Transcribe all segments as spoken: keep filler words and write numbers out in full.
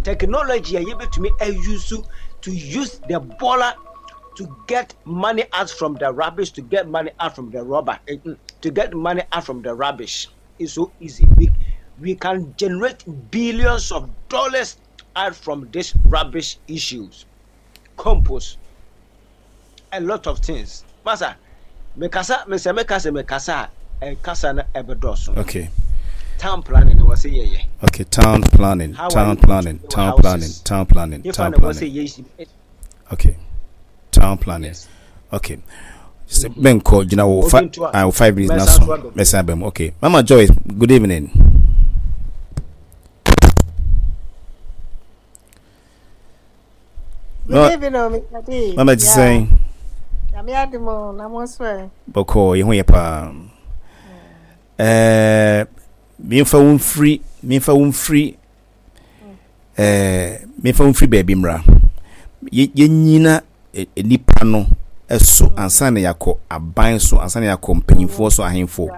Technology a yɛbɛtumi ause to use the bɔɔla to get money out from the rubbish, to get money out from the rubber, eh, mm, to get money out from the rubbish is so easy. We, we can generate billions of dollars out from this rubbish issues. Compost, a lot of things. Masa, mekasa, mesɛ mekasa, mekasa, ɛkasa no ɛbɛdɔɔso. Okay. Town planning wɔ sɛ yɛyɛ. Okay, town planning, How are town you planning, going to town houses? planning, town planning, Nifa town na wɔ sɛ planning. yɛ. Okay, town planning. Yes. Okay. Sɛ menkɔ gyina wo fa Obi nto a, ah, wo five minutes na mɛsan so so aba. Mɛsan aba mu. Okay. Mama Joyce, good evening. Good No, evening, oh, Mister D. Mama ti Yeah, sɛn? Nyame adom o, na mo nso ɛ? Bɔkɔɔ, yɛ ho yɛ paa. Ɛɛ, memfa wo mfiri, memfa wo mfiri, ɛɛ, memfa wo mfiri baabi mmra. Yɛ- Yɛnyina ɛ- nipa no so ansa na yɛakɔ aban so, ansa na yɛakɔ mpanyinfoɔ so, ahemfo.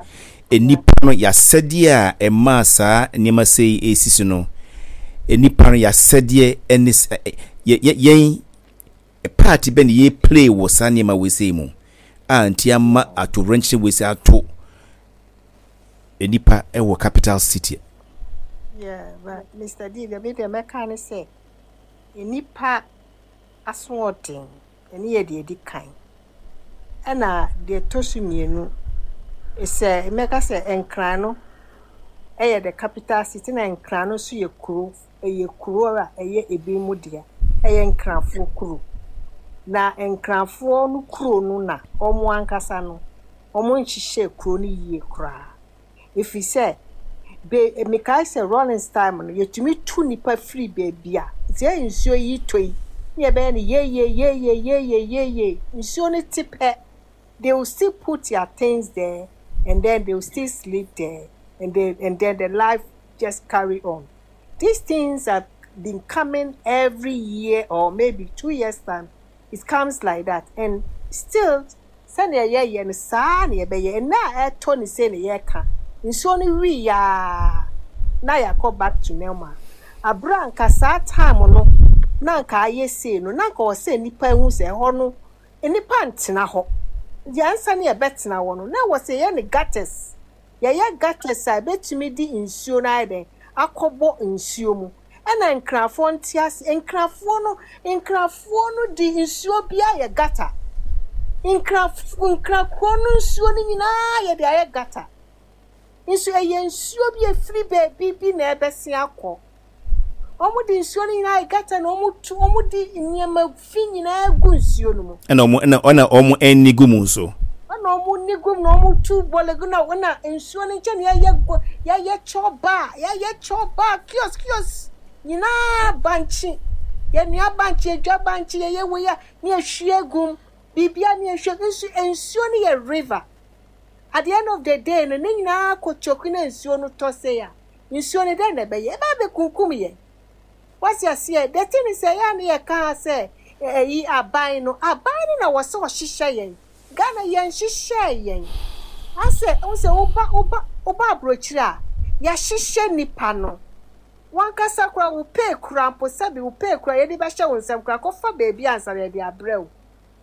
Nipa no yɛasɛdeɛ a ɛmaa saa nneɛma sei ɛsisi no, nipa no yɛasɛdeɛ ɛne s- ɛ- ɛ- yɛ- yɛ- yɛn part bɛ ne yɛ play wɔ saa nneɛma wei sei mu a nti ama atowerɛnkyerɛ wei sei ato nipa ɛwɔ capital city? Yeah, but Mister D, deɛ me deɛ mɛka ne sɛ, nnipa asoɔden, ɛne yɛ deɛ ɛdi kan. Ɛna deɛ ɛtɔ so mmienu, sɛ mɛka sɛ Nkran no ɛyɛ the capital city, na Nkran no nso yɛ kuro, ɛyɛ kuro a ɛyɛ ebi mu dea, ɛyɛ Nkranfoɔ kuro. Na Nkranfoɔ no kuro no na wɔn ankasa no, wɔn nhyehyɛ kuro no yie koraa. Ɛfiri sɛ, be mekae sɛ Rawlings time no, yɛtumi tu nipa firi baabi a sɛ nsuo yi tɔ yi ne yɛbɛyɛ no yeye yeye yeye yeye, nsuo no te pɛ, they will still put their things there and then they will still sleep there and then and then the life just carry on. These things have been coming every year or maybe two years time, it comes like that, and still sɛnea yɛyɛ no saa na yɛbɛyɛ. Ɛnna a ɛtɔ ne sɛ ne yɛka nsuo no wii yaa na yɛakɔ back to normal. Abere a nka saa time no na nka ayɛ sei no, na nka wɔ sɛ nnipa ehu sɛ ɛhɔ no nnipa ntena hɔ yɛnsa ne yɛbɛtena hɔ no, na wɔ sɛ yɛyɛ no gutters, yɛyɛ gutters a ebɛtumi de nsuo no ayɛ dɛn akɔbɔ nsuo mu. Ɛna Nkrafoɔ nte ase, Nkrafoɔ no Nkrafoɔ no de nsuo bi ayɛ gutter. Nkraf Nkrakuro no nsuo no nyinaa yɛde ayɛ gutter nso. Ɛyɛ nsuo bi efiri beebi bi na ɛbɛsi akɔ. Wɔn de nsuo no nyinaa ayɛ gutter na wɔn tu, wɔn de nneɛma fi nyinaa gu nsuo no mu. Ɛna ɔmo ɛna ɛna ɔmo ani gu mu nso. Ɛna wɔn ni gu mu na wɔn tu bɔlɛ gu na ɛna nsuo no nkyɛn yɛyɛ go, yɛyɛ chɔba, yɛyɛ chɔba, kiosk kiosk nyinaa, bankye, yɛnua bankye, yɛdwa bankye, yɛyɛ wei a ne yɛhwie gum, biribia ne yɛhwie nso. Nsuo no yɛ river. At the end of the day no, ne nyinaa kɔ choke na nsuo no tɔ se a, nsuo no dɛn na ɛbɛyɛ? Ɛbɛ abɛkunkum yɛn. Wasi aseɛ? The thing is, ɛyɛ a ne yɛka sɛ ɛyi aban no, aban no na wɔ sɛ ɔhyehyɛ yɛn. Ghana yɛn hyehyɛ yɛn asɛ n sɛ woba woba woba aburokyire a, yɛahyehyɛ nipa no wankasa kora wo pay kora mpo, sɛbi, wo pay kora yɛde bɛhyɛ wo nsɛm kora kɔfa beebi ansa na yɛde abrɛ wo.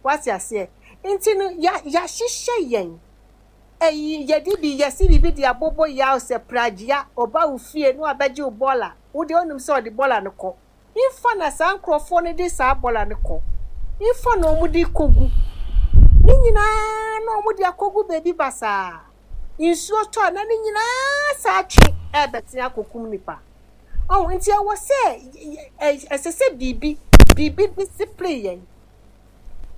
Wasi aseɛ? Nti no ya yɛahyehyɛ yɛn. Ɛyi yɛde bi yɛsi biribi de abobɔ yaw sɛ pragyia ɔba wo fie na wabɛgye wo bɔɔla. Wo deɛ onim sɛ ɔde bɔɔla no kɔ nfa na saa nkurɔfoɔ no de saa bɔɔla no kɔ nfa na wɔn de kɔgu ne nyinaa na wɔn de akɔgu beebi basaa. Nsuo tɔ a na ne nyinaa saa twe ɛɛbɛtena akɔkum nipa ɔho. Nti ɛwɔ sɛ ɛ ɛsɛ sɛ biribi biribi discipline yɛn,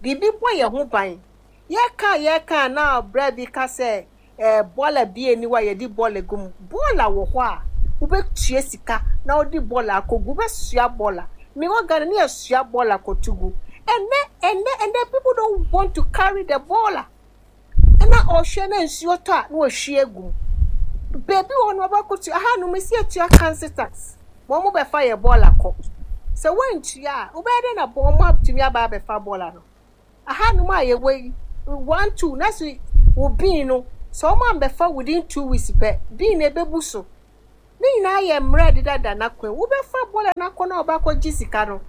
biribi bɔ yɛn ho ban. Yɛka yɛka na ɔbrɛ bi ka sɛ ɛɛ bɔɔla bi eni hɔ a yɛde bɔɔla gu mu. Bɔɔla wɔ hɔ a wobɛtua sika na wode bɔɔla akɔgu, wobɛsua bɔɔla. Mewɔ Ghana ne yɛsua bɔɔla kɔto gu. Ɛnɛ ɛnɛ ɛnɛ people don't want to carry the bɔɔla. Ɛna ɔhwɛ na nsuo tɔ a na wɔhwie egu mu. Beebi wɔ hɔ no wɔbɛkɔtua aha no mesi atua council tax, wɔn mo bɛfa yɛ bɔɔla kɔ. Sɛ wɔntua a, wobɛyɛ dɛ na wɔn atumi aba abɛfa bɔɔla no? Aha nom a yɛwɔ yi, one two na so wo bin no sɛ wɔn ambɛfa within two weeks pɛ, bin na ebebu so. Ne nyinaa yɛ mmerɛ a ɛdedada n'akwan mu. Wobɛfa bɔɔla no akɔ na ɔba sika no,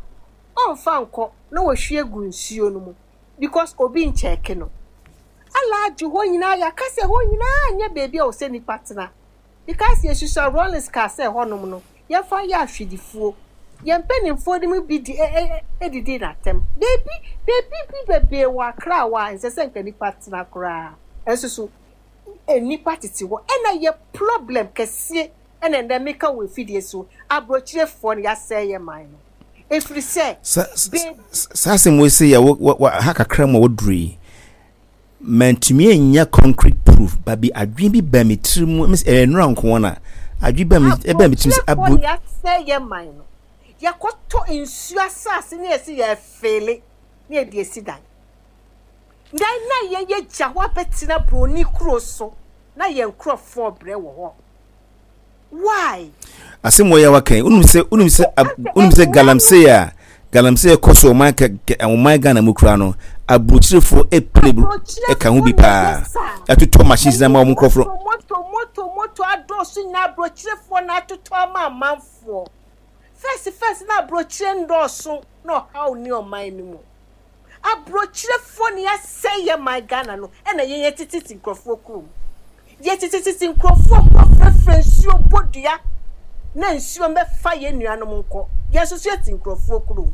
ɔmfa nkɔ na wɔhwie gu nsuo no mu because obi nkyɛɛke no. Alaagye hɔ nyinaa, yɛaka sɛ hɔ nyinaa nyɛ beebi a ɔsɛ nipa tena because yɛsusua Rawlings kaa sɛ hɔnom no yɛmfa yɛ ahwedifoɔ. Yɛn mpanimfoɔ no mu bi di edidi n'atɛm. Beebi beebi bi bebree wɔ Accra hɔ a nsɛ sɛ nka nipa tena koraa. Ɛnso so nipa tete hɔ ɛna yɛ problem kɛseɛ. Ɛna ndɛ meka wɔ efidie so, aburokyerefoɔ no yɛasɛe yɛ man no efiri sɛ. Saa asɛm wɔ sɛ yɛ ha kakra mu a wɔduru yi, mantumi anya concrete proof babi. Adwene bi baa me tiri mu ɛyɛ nnora nko na adwene baa me ɛbaa me tiri mu sɛ aburo. Yɛasɛe yɛ man no, yɛkɔtɔ nsuo asase ne yɛsi yɛfeele ne yɛde esi dan dan na yɛyɛ gya hɔ abɛtena buroni kuro so na yɛn nkurɔfoɔ brɛ wɔ hɔ. Why? Asɛm wɔ yɛ waka yi, wonim sɛ wonim sɛ wonim sɛ galamsey a galamsey kɔ so ɔman kɛ ɔman Ghana mu kura no, aburokyerefoɔ epere ɛka ho bi paa, ɛtotɔ machines na ma wɔn nkurɔfoɔ. Moto moto moto adɔɔso nyinaa, aburokyerefoɔ na atotɔ ama amanfoɔ. First first na aburokyire ndɔɔso na ɔhaw ne ɔman no mu. Aburokyerefoɔ ne asɛe yɛ man Ghana no, ɛna yɛn yɛ tete nkurɔfoɔ kurom, yɛtetetete nkurɔfoɔ kɔ frɛfrɛ nsuo bɔ dua na nsuo mbɛfa yɛn nuanom nkɔ. Yɛn nso so yɛte nkurɔfoɔ kurom,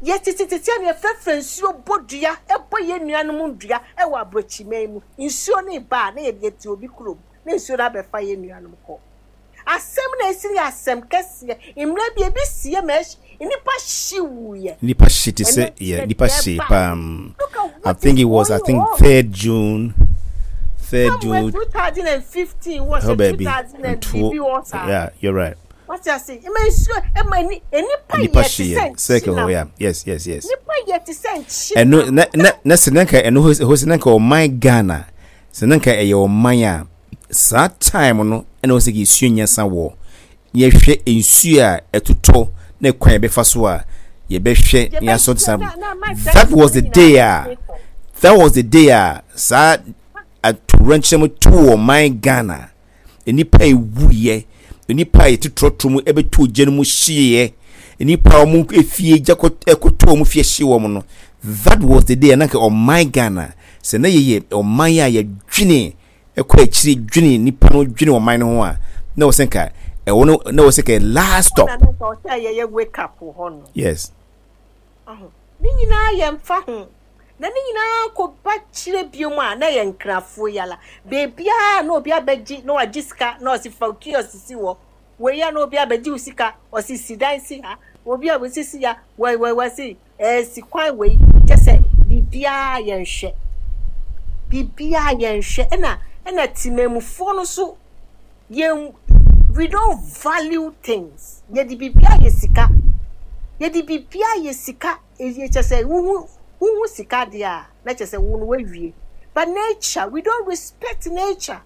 yɛtetetete na yɛfrɛfrɛ nsuo bɔ dua, ɛbɔ yɛn nuanom dua ɛwɔ aburokyiman mu. Nsuo no ba a, na yɛde yɛte obi kurom na nsuo no abɛfa yɛn nuanom kɔ. Asɛm na esi yɛ asɛm kɛseɛ. Mmerɛ bi ebi sie ma ɛhy nipa hyi wuyɛ. Nipa hyi te sɛ yɛ nipa hyi pam. I think it was, I think, third June, third June two thousand and fifteen was oh baby two thousand and bibi wɔ saa. Yeah, you're right. Wati ase ɛma nsuo ɛma ni nipa nipa yɛ te hyi sɛ yɛ circle nkyinam. Hɔ, yeah, yes yes yes Nipa yɛ te sɛ nkyinam. Ɛno na na na sɛ nanka ɛno hɔ hɔ sɛ nanka ɔman Ghana, sɛ nanka ɛyɛ ɔman a, saa time no ɛna wɔ sɛ yɛsua nyansa wɔ yɛhwɛ nsuo a ɛtotɔ na kwan yɛbɛfa so a yɛbɛhwɛ na yɛasɔ sa. That was the day a that was the day a saa atowerɛnkyɛm too ɔman Ghana. Nnipa a ɛwuiɛ, nnipa a yɛte trɔtrɔ mu ɛbɛtɔ gya no mu hyeeɛ, nnipa a wɔn efie gya kɔ ɛkɔtɔ wɔn fie hye wɔn no, that was the day a nanka ɔman Ghana, sɛ na yɛyɛ ɔman a yɛdwene ɛkɔ akyire, dwene nipa no, dwene ɔman no ho a, na wɔ sɛ nka ɛwɔ no na wɔ sɛ nka last stop. Ɔna no nka ɔsɛ yɛyɛ wake up wɔ hɔ no. Yes. Ɔho ne nyinaa yɛ mfa ho na ne nyinaa kɔ ba kyerɛ bio mu a, na yɛ nkrafoɔ yala beebiara na obi abɛgye na wagye sika na ɔsi fa kiosk si hɔ wei a, na obi abɛgye wo sika, ɔsi si dan si ha, obi a wɔsisi ya wɔ wɔ wɔsi ɛɛ si kwan wei kyɛ sɛ biribiara yɛnhwɛ, biribiara yɛnhwɛ. ɛna ɛna temamufoɔ no so yɛn, we don't value things. Yɛde biribiara yɛ sika, yɛde biribiara yɛ sika. Eyi kyɛ sɛ wohu wohu sika deɛ a, na kyɛ sɛ wo no wawie. But nature, we don't respect nature.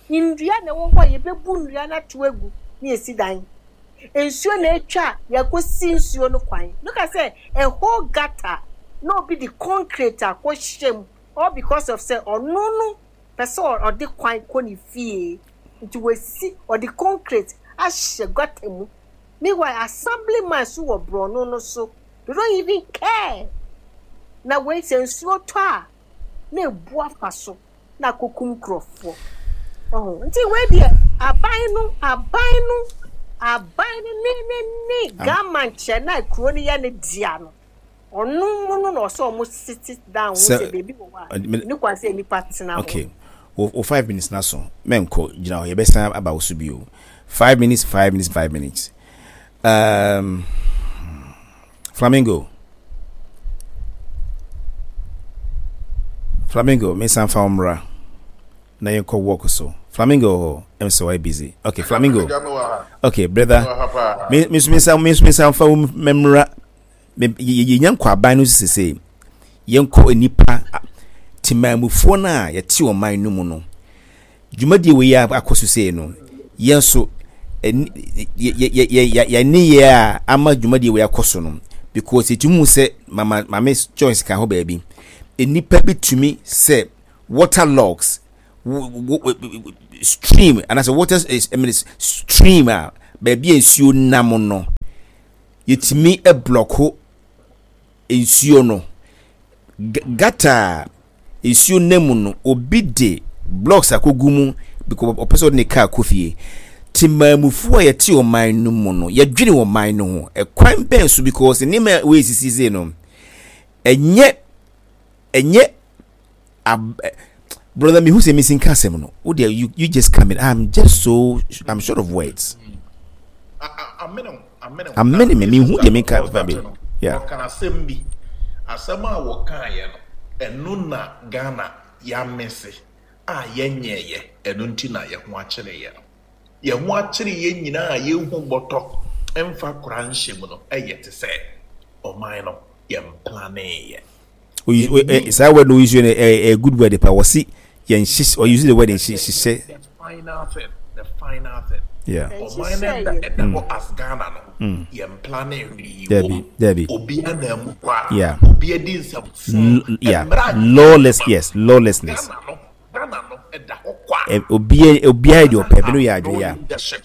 Ndua na ɛwɔ hɔ a, yɛbɛbu nnua no ato agu na yɛsi dan. Nsuo na atwa a, yɛkɔsi nsuo no kwan. Look at sɛ a whole gutter na obi de concrete akɔhyɛ mu, all because of sɛ ɔno no pɛ sɛ ɔde kwan kɔ ne fie nti wasi ɔde concrete ahyɛ gutter mu. Meanwhile, assemblyman so wɔ borɔno no so, they don't even care. Na wei sɛ nsuo tɔ a, na ebu afa so na akokum nkurɔfoɔ. Ɔho nti wei deɛ, aban no aban no aban no ne ne ne gama nkyɛn na kuro no yɛ ne dea no, ɔno mu no na ɔsɛ ɔmo sit down ho sɛ beebi wɔ hɔ a ne kwan sɛ nipa tena hɔ. Okay, wo wo five minutes na so mɛnkɔ, gyina hɔ, yɛbɛsan aba wo so bio. Five minutes, five minutes, five minutes. um, flamingo flamingo, mensan fa wo mmra na yɛnkɔ work so. Flamingo hɔ ɛm sɛ wayɛ busy. Okay, Flamingo. Okay, brother, me me nso mensan me nso mensan fa wo mmra. Yɛnya nkɔ aban no sese, yɛnkɔ nipa temaamufoɔ no a yɛte ɔman no mu no. Dwumadie wei akɔ so sei no, yɛn nso yɛne yɛ a ama dwumadie wei akɔ so no, because yɛtumi hu sɛ mama Maame Joyce ka hɔ baabi, nnipa bi tumi sɛ water logs Stream anaasɛ water, I mean, stream a baabi a nsuo nam no, yɛtumi block nsuo no. Gutter a nsuo nam mu no, obi de blocks akɔgu mu because ɔpɛ sɛ ɔde ne car kɔ fie. Temaamufoɔ a yɛte ɔman no mu no, yɛdwene ɔman no ho ɛkwan bɛn so? Because nneɛma a wɔresisi sei no, ɛnyɛ ɛnyɛ ab brother, mehu sɛ mesi nka asɛm no wo deɛ, you, you just come in. I'm just so, I'm short of words. Amene me, mehu deɛ menka fa bi. Yeah, ɔka asɛm bi, asɛm a wɔkaeɛ no, ɛno na Ghana yɛamese a yɛnyɛɛyɛ. Ɛno nti na yɛho akyere yɛ no, yɛn ho akyere yɛn nyinaa a yɛnhu bɔtɔ mfa kora nhyɛ mu no. Ɛyɛ te sɛ ɔman no yɛn planeeɛ. Saa word no use no, a good word pa. Wɔsi yɛn hyehyɛ, or use the word nhyehyɛ. The final thing, the final thing. Yeah. Ɔman no ɛda ɛda hɔ as Ghana no, yɛn plane hwee. Dabi, dabi. Obi anam mu kwa. Yeah. Obi adi nsɛm. Yeah, lawless, yes, lawlessness. Ghana no, Ghana no ɛda hɔ kwa. Obi obiara de ɔpɛ bi no yɛ adwene ya. Leadership.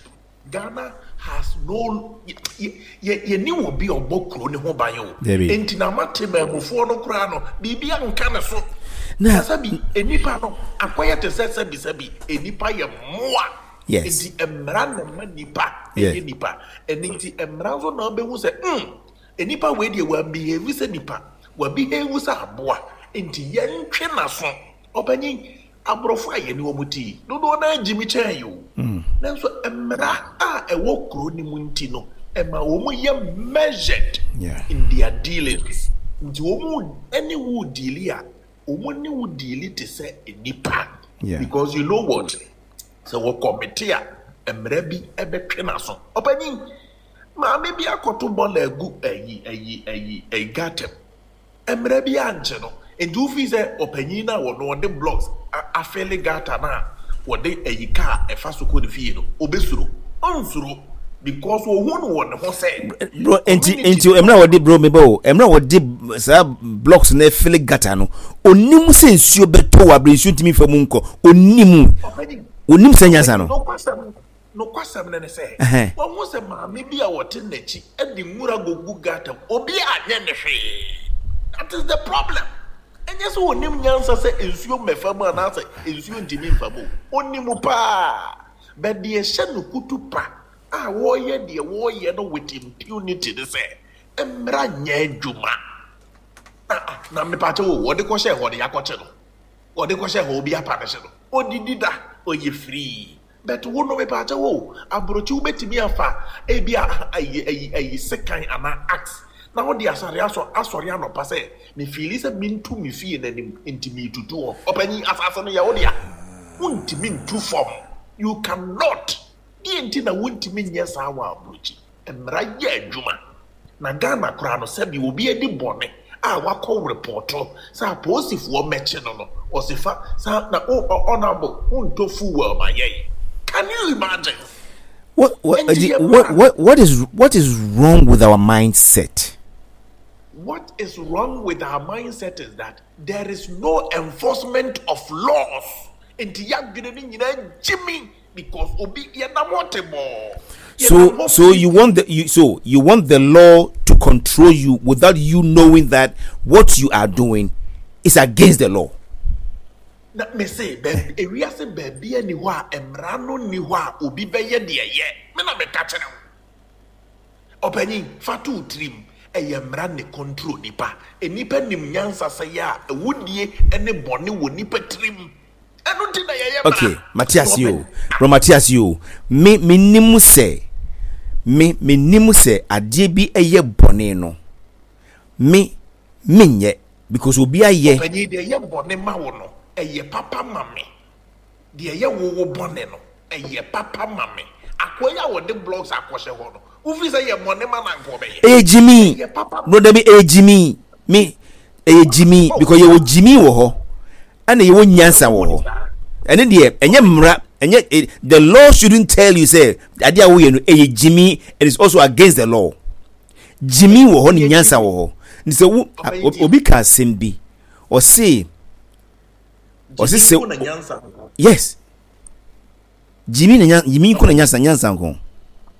Ghana has no, yɛ yɛni wɔ bi a ɔbɔ kuro ne ho ban o. Dabi. Nti na ama temaamufoɔ no koraa no, biribi anka ne so. Na sɛbi, enipa no akɔyɛ te sɛ sɛbi sɛbi enipa yɛ mmoa. Yes. Nti mmara na ma nipa ɛyɛ nipa. Ɛne nti mmara nso na ɔbɛhu sɛ mm enipa wei deɛ, wɔn behave sɛ nipa, wɔn behave sɛ aboa, nti yɛntwe n'aso. Ɔpanyin, aborɔfo a yɛne wɔn ti dodoɔ naa gyi mi kyɛn yi o, nanso mmara a ɛwɔ kuro no mu nti no, ɛma wɔn yɛ measured Yeah. in their dealings. Nti wɔn ɛne wo deal a, wɔn ne wo deal te sɛ nipa. Yeah. Because you know what, sɛ wɔkɔmete a, mmara bi ɛbɛtwe n'aso. Ɔpanyin, maame bi akɔto bɔɔla agu ɛyi ɛyi ɛyi ɛyi gutter, mmara bi ankye no. Nti wofi sɛ ɔpanyin no a wɔno ɔde blocks a- afill gutter no a wɔde ɛyi kaa ɛfa so kɔ ne fie no, obɛsuro? Ɔnsuro, because ohun no wɔ ne ho sɛ Bro, nti nti mmerɛ a wɔde, bro, mebɛ o, mmerɛ a wɔde saa blocks na ɛfill gutter no, onim sɛ nsuo bɛtɔ wɔ abere nsuo ntumi fa mu nkɔ. Onim. Ɔpanyin, Onim sɛ nyansa no. Nokwasɛm, nokwasɛm no ne sɛ Ɛhɛn. wɔn sɛ maame bi a wɔte n'akyi de nwura gugu gutter mu, obi anyɛ ne hwee. That is the problem. Ɛnyɛ sɛ onim nyansa sɛ nsuo mmɛfa mu anaasɛ nsuo ntumi nfa mu o, onim paa, but deɛ ɛhyɛ no kutu pa a wɔreyɛ deɛ wɔreyɛ no with impunity ne sɛ mmara nyɛ adwuma. Na na mepakyɛ wo, wɔde kɔhyɛ hɔ de yakɔkye no, wɔde kɔhyɛ hɔ, obi apa ne hye no, odidi da, ɔyɛ free. But wo no, mepakyɛ wo, aburokyi, wobɛtumi afa ebi a ayi ayi ayi sekan anaa axe na wode asɔre asɔ asɔre anɔpa sɛ mefeel sɛ mentu me fie n'anim nti metutu hɔ. Ɔpanyin, asase no yɛ wo dea, wontumi ntu fam. You cannot. Deɛ nti na wontumi nyɛ saa wɔ aburokyi, mmara yɛ adwuma. Na Ghana koraa no, sɛbi, obi adi bɔne a wakɔ report sɛ apolisifoɔ mɛkye no no, ɔsi fa saa na o ɔnabo wontɔ fuel ma yɛn. Can you imagine? What what, Nti yɛ what mmara. what what is what is wrong with our mindset? What is wrong with our mindset is that there is no enforcement of laws. Nti yɛadwene no nyinaa gyimi because obi yɛnam hɔ te bɔɔ. So so you want the you so you want the law to control you without you knowing that what you are doing is against the law. Na me se baabi, ewiase baabi ani hɔ a mmara no ni hɔ a obi bɛyɛ deɛ yɛ me na meka kyerɛ wo. Ɔpanyin, fa to wo tirim, ɛyɛ mmara ne control nipa. Nipa nim nyansa sɛ yɛ a awudie ne bɔne wɔ nipa tirim, ɛno nti na yɛyɛ mmara. Okay, Matias Na yo, ɔpanyin bro, Matias yo. Me me nim sɛ me me nim sɛ adeɛ bi ɛyɛ bɔne no. Me menyɛ because obi ayɛ. Ɔpanyin, deɛ ɛyɛ bɔne ma wo no, ɛyɛ papa ma me. Deɛ ɛyɛ wo wo bɔne no, ɛyɛ papa ma me. Akoa yi a wɔde blocks akɔhyɛ hɔ no, wofi sɛ yɛ bɔne ma na nka ɔbɛyɛ? Ɛyɛ gyimi. Ɛyɛ papa. Bro, dabi, ɛyɛ gyimi. Me ɛyɛ gyimi Oh. because yɛwɔ gyimi wɔ hɔ ɛna yɛwɔ nyansa wɔ hɔ. Ɛne deɛ, ɛnyɛ mmara, ɛnyɛ eh, the law shouldn't tell you sɛ adeɛ a woyɛ no ɛyɛ gyimi. It is also against the law. Gyimi wɔ hɔ ne nyansa wɔ hɔ. Nti sɛ wo Ɔpanyin, obi ka asɛm bi, ɔse Ɔsi sɛ yes, gyimi na nya gyimi nko na nyansa nyansa nko.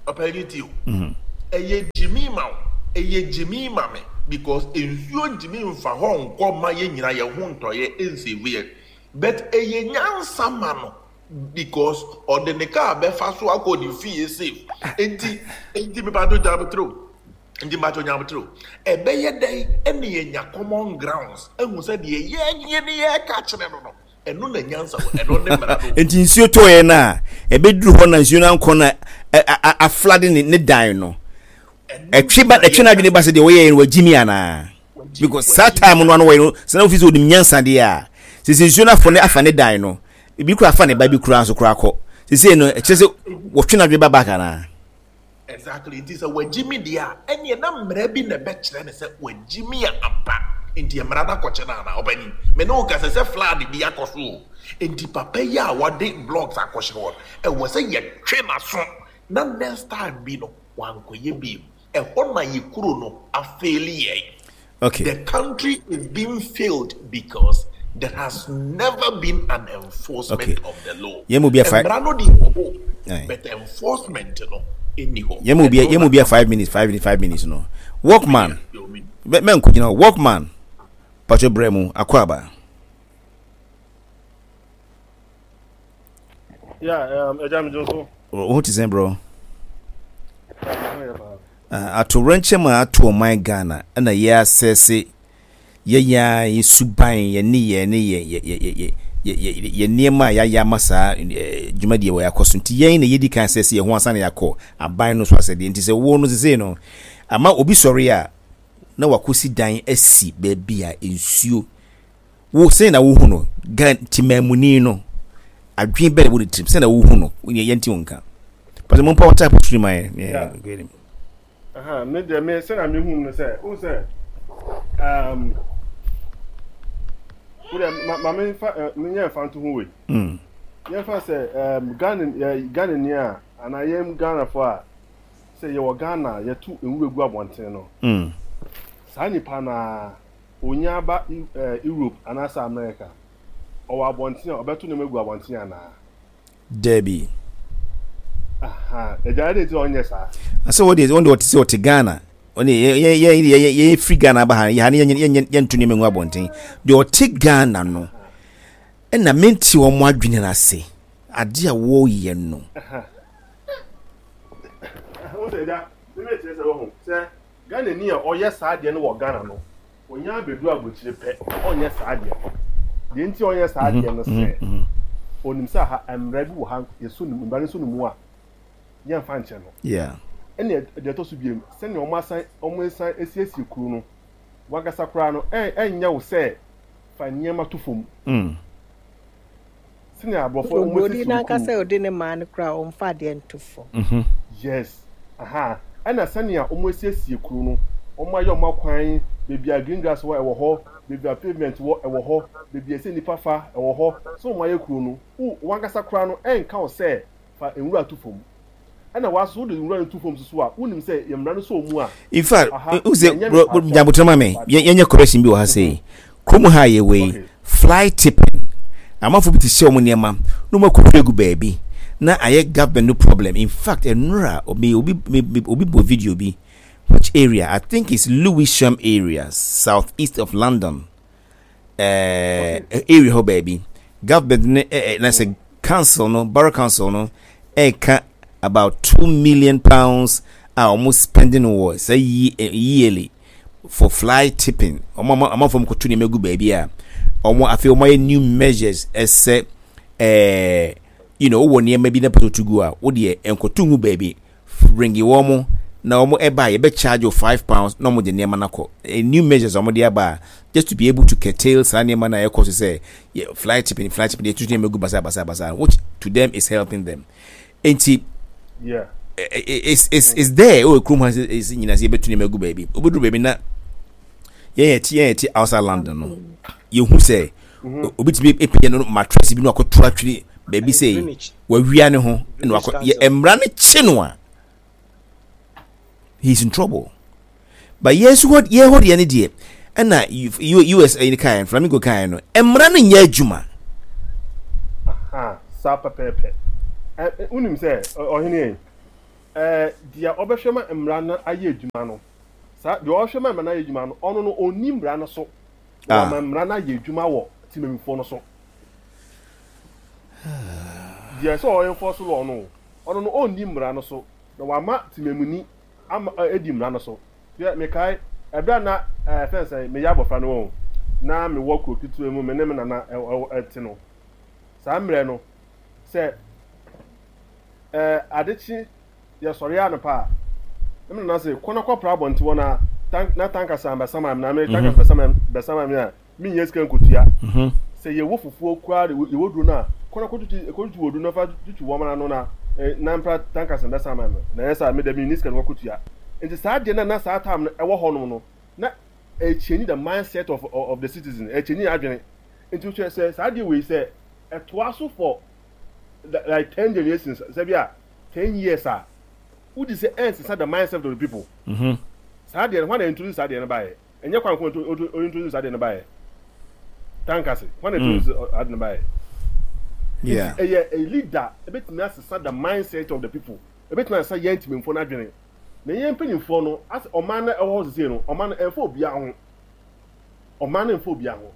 Ɔpɛni ti o, ɛyɛ gyimi ma o, ɛyɛ gyimi ma me, because nsuo ntumi nfa hɔ nkɔ ma yɛn nyinaa yɛn ho ntɔyɛ nsave yɛ, but ɛyɛ nyansa ma no because ɔde ne kaa bɛfa so akɔ ne fie safe. Nti nti mipato gyabotire nti mipato gyabotire, ɛbɛyɛ dɛn ɛna yɛnya common grounds ehu sɛ deɛ yɛn ne yɛka kyerɛ no no ɛno na nyansa wɔ, ɛno ne mmara no. Nti nsuo tɔɔyɛ no a ɛbɛduru hɔ na nsuo no ankɔ na aflood ne ne dan no, ɛtwe ba, ɛtwe n'adwene ba sɛ deɛ wɔyɛ no wagyimi anaa? Because saa time no ano wɔyɛ no sɛ na ofi sɛ onim nyansa deɛ a, sɛ nsuo no afɔ ne afa ne dan no ebi kura afa ne ba bi kura nso kura kɔ sɛ no, ɛkyerɛ sɛ wɔtwe n'adwene ba back anaa? Exactly. Nti sɛ wagyi mi deɛ a, ɛneɛ na mmara bi na ɛbɛkyerɛ ne sɛ wagyi mi a ampa, nti mmara no akɔkyɛ no ana? Ɔbɛni me ne wo kasa sɛ flood bi akɔ so o, nti papa yi a wɔde blocks akɔhyɛ hɔ, ɛwɔ sɛ yɛtwe n'aso na next time bi no wankɔyɛ bi. Ɛhɔ na yɛ kuro no afail yɛn. Okay the country is being failed because there has never been an enforcement Okay. of the law. Yɛn mu bi afa- Mmara no de wɔ hɔ, Aye. but enforcement no ɛni hɔ. Yɛn mu bi Ɛno yɛn mu na bi five minutes, five minutes, five minutes no, workman. Yo, me- mɛ mɛ nko gyina hɔ, workman patro brɛ mu akɔ aba. Yeah, um, ɛgya mi dun so. Wo ho te sɛn, bro? Yeah, me ho yɛ paa. Uh, atowerɛnkyɛm a ato ɔman Ghana ɛna yɛ asɛse yɛyɛ a yɛ suban, yɛ ne yɛ ne yɛ yɛ yɛ yɛ yɛ yɛ yɛ nneɛma a yɛayɛ ama saa eh, dwumadie wɔ yɛakɔ so, nti yɛn na yɛdi kan sɛ sɛ yɛn ho ansa na yɛakɔ aban no so asɛdeɛ. Nti sɛ wo no sesei no ama obi sɔre a na wakɔsi dan asi baabi a nsuo wo, sɛn na wohu no? Gan timaamuni no adwene bɛɛ wɔ ne tirim, sɛn na wohu no? Yɛ yɛnti wo nka pàtɛ mo mpa wɔta apɔtiri ma yɛ. Yeah. Aha, me deɛ, me sɛ na me hu no sɛ, o sɛ, um, wo deɛ ma ma me nfa ɛ me nyɛ nfa nto ho wei. Mm. Yɛnfa sɛ um, Ghana ɛ Ghana ni a anaa yɛn Ghanafoɔ a sɛ yɛwɔ Ghana a yɛto nwura gu abɔnten no. Mm. Saa nipa na onya aba ɛ Europe anaasɛ America, ɔwɔ abɔnten a ɔbɛto nneɛma gu abɔnten anaa? Dabi. Aha, ɛgya yɛ de ti na ɔnyɛ saa. Asɛ wɔde wɔn de wɔte sɛ ɔte Ghana, ɔne yɛ yɛ yɛ yɛ yɛ firi Ghana aba ha, yɛ ha ne yɛ yɛ yɛnto nneɛma ngu abɔnten deɛ. Ɔte Ghana no ɛna mente wɔn adwene no ase ade a wɔreyɛ no. Wo sɛ ɛgya ne bɛ kyerɛ sɛ wɔho sɛ Ghana ni a ɔyɛ saa adeɛ no wɔ Ghana no, onya abɛdu aburokyire pɛ, ɔnyɛ saa adeɛ no. Deɛ nti a ɔnyɛ saa adeɛ no sɛ onim sɛ ha mmara bi wɔ ha, yɛso ne mu, mmara no so ne mu a yɛmfa nkyɛn no. Yeah ɛne deɛ ɛtɔ so biem, sɛnea wɔn asan wɔn asan asiesie kuro no wankasa koraa no, ɛ ɛnyɛ wo sɛ fa nneɛma to fam mm. sɛnea aborɔfo wɔn Oburoni asiesie wɔn n'ankasa kuro. a ɔde ne maa no koraa, ɔmfa adeɛ nto fam. mm-hmm. Yes, aha, ɛna sɛnea wɔn asiesie kuro no, wɔn ayɛ wɔn akwan, beebi a green grass wɔ ɛwɔ hɔ, beebi a pavement wɔ ɛwɔ hɔ, beebi a ɛsɛ nipa fa ɛwɔ hɔ, so wɔn ayɛ kuro no, wo wankasa koraa no ɛnka wo sɛ fa nwura to fam. Ɛna waso wode nwura no to fam soso a, wonim sɛ yɛ mmara no sɛ ɔmu a In fact, aha n sɛ ɛnyɛ bro mepa kyɛw. Nyabotrɛ ma me mepa yɛ- kyɛw. Yɛnyɛ correction bi wɔ ha sei, kurom ha yɛ wei Okay. fly tipping, amanfo bi te hyɛ wɔn nneɛma na wɔn akɔhwie agu baabi na ayɛ government no problem. In fact, ɛnora obi obi me- obi bɔ video bi, which area, I think it's Lewisham area, south east of London uh, area hɔ baabi, government ne eh, eh, na sɛ council no, borough council no ɛka about two million pounds a wɔn spending wɔ sɛ yi eh, yearly for fly tipping. Wɔn ama amanfoɔ mu kɔto nneɛma gu baabi a wɔn afei wɔn ayɛ new measures ɛsɛ ɛɛ you know wowɔ nneɛma bi na pɛtɛ otu gu a, wodeɛ nkɔto ngu baabi, ringi wɔn na wɔn ɛba a yɛbɛ charge you five pounds na wɔn de nneɛma no akɔ. Eh, new measures a wɔn de aba a just to be able to curtail saa nneɛma na ɛkɔ so sɛ yɛ fly tipping, fly tipping, yɛtutu nneɛma gu basa basa basa, which to them is helping them. Nti yeah it's it's it's there. Oh, kurom ha sɛ sɛ nyinaa sɛ yɛbɛtu nneɛma gu baabi, wobɛduru baabi na yɛn yɛ ti yɛn yɛ ti outside London no, yɛhu sɛ obi tumi epagya no mattress bi na wakɔto atwere baabi sɛ Greenwich. Wawia ne ho na wakɔ Greenwich. Yɛ mmara no kye no a, he is in trouble. But yɛn nso hɔ, yɛn hɔ deɛ ne deɛ ɛna U S ɛyi kaeɛ, Flamingo kaeɛ no, mmara no nyɛ adwuma. Saa pɛpɛɛpɛ. Ɛ wonim sɛ ɔhene yɛn ɛɛ deɛ ɔbɛhwɛ ma mmara no ayɛ adwuma no, saa deɛ ɔhwɛ ma mmara no ayɛ adwuma no, ɔno no ɔnni mmara no so. Ah. Wama mmara no ayɛ adwuma wɔ temamufoɔ no so. Deɛ sɛ ɔyɛ enforce law no, ɔno no ɔnni mmara no so na wama temamuni ama edi mmara no so. Hwɛ, mekae ɛberɛ a na ɛɛ fɛn sɛ meyɛ abɔfra no wɔn na mewɔ kuro ketewa mu, me ne me nana ɛwɔ ɛte no. Saa mmerɛ no, sɛ ɛɛ adekye yɛsɔre anɔpa a, na me nana sɛ kɔ na kɔpra abɔnten hɔ na tank na tankasa bɛsama me na me tankasa bɛsama bɛsama me a menyɛ sika nkotua. Sɛ yɛwɔ fufuo koraa de yɛwɔ duro no a, kɔ na kɔtutu kɔtutu wɔ duro no fa tutu wɔn ano na na mpra tankasa bɛsama me na ɛyɛ saa me dɛ menni sika no kɔtua. Nti saa deɛ na na saa time no ɛwɔ hɔnom no, na ɛkyɛnyi the mindset of of the citizen, ɛkyɛnyi adwene. Nti wohwɛ sɛ saa deɛ wei sɛ ɛtoa so for like ten generations, sɛ bi a ten years a, wodi sɛ ɛnsesa the mindset of the people. Mm-hmm. Saa deɛ no, hwan na introduce saa deɛ no baeɛ? Ɛnyɛ kwan ko introduce saa deɛ no baeɛ. Tankase, hwan na introduce ade no baeɛ? Yeah. Nti ɛyɛ a leader ebetumi asesa the mindset of the people. Ebetumi asesa yɛn ntimimfoɔ no adwene. Na yɛn mpanyinfoɔ no, asɛ ɔman no ɛwɔ hɔ sese no, ɔman no ɛnfa obiara ho. Ɔman no ɛnfa obiara ho.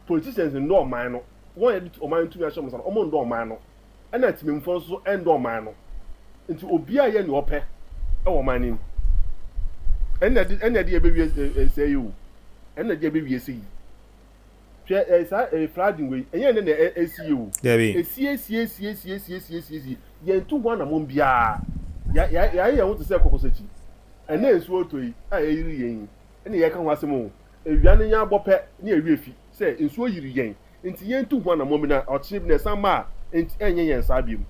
Politicians ndɔ ɔman no. Wɔn a yɛde ɔman no tumi ahyɛ wɔn nsa no, wɔn ndɔ ɔman no. Ɛna ntimimfoɔ nso ɛndɔ ɔman no. Nti obiara yɛ nea ɔpɛ ɛwɔ ɔman no mu. Ɛna ɛde ɛna ɛde yɛbɛwie sɛ yi o. Ɛna ɛde yɛbɛwie sɛ yi. Hwɛ ɛɛ saa ɛɛ flooding wei, ɛnyɛ ɛnɛ na ɛsi yi o. Dabi. Esi esi esi esi esi esi esi esi. Yɛn tu ho anamɔn biara. Ya ya yɛayɛ yɛn ho te sɛ kɔkɔsakyi. Ɛnɛ nsuo tɔ yi a ɛyiri yɛn yi, ɛna yɛka ho asɛm o. Ewia no nya abɔ pɛ ne yɛwerɛ fi sɛ nsuo yiri yɛn. Nti yɛn tu ho anamɔn bi na ɔkyene bi na ɛsan ba a, nti ɛnyɛ yɛn saa biom.